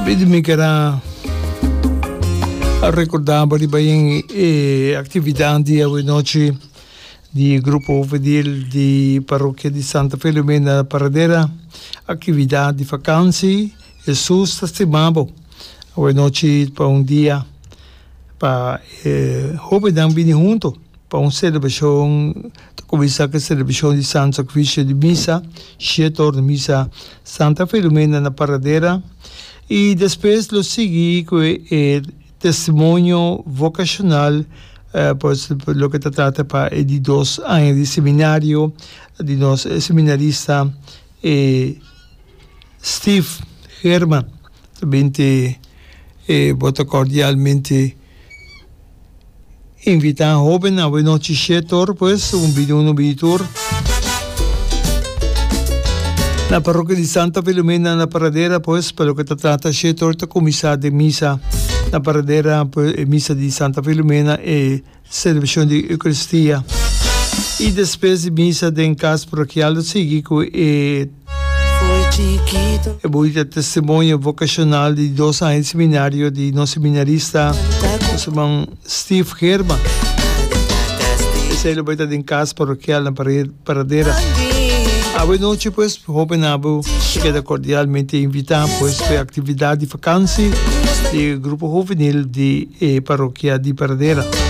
Tambe mi ker a recorda bo riba e actividad di awenochi di Grupo Juvenil di Parokia di Santa Filomena na Paradera. Actividad di vakantie, Jesus ta stima bo. Awenochi pa un dia pa e hobennan bini hunto pa un celebracion. Ta kuminsá ku e selebrashon di Santu Sakrifisio di Misa, shete or di misa Santa Filomena na Paradera, i despues lo sigui ku e testimonio vokashonal, pues loke ta trata pa e di dos aña di seminario di nos seminarista e Steve Herman. Ta binti e bo ta kordialmente. Invitá hóben awe nochi shetor pues un bini uno bini tur na parrokia di Santa Filomena na Paradera pues pa loke ta trata shetor ta kuminsá den misa na Paradera pues e misa di Santa Filomena e selebrashon di Eukaristia i despues di misa den kas parokial lo sigui ku e E bunita testimonio vocacional di dos aña di seminario di nos seminarista, nos herman Steve Herman. Esei lo bai ta den cas parokial na Paradera. Awe nochi pues, hoben abo ta keda cordialmente invita pues pa e actividad di vakantie di e grupo juvenil di e parokia di Paradera.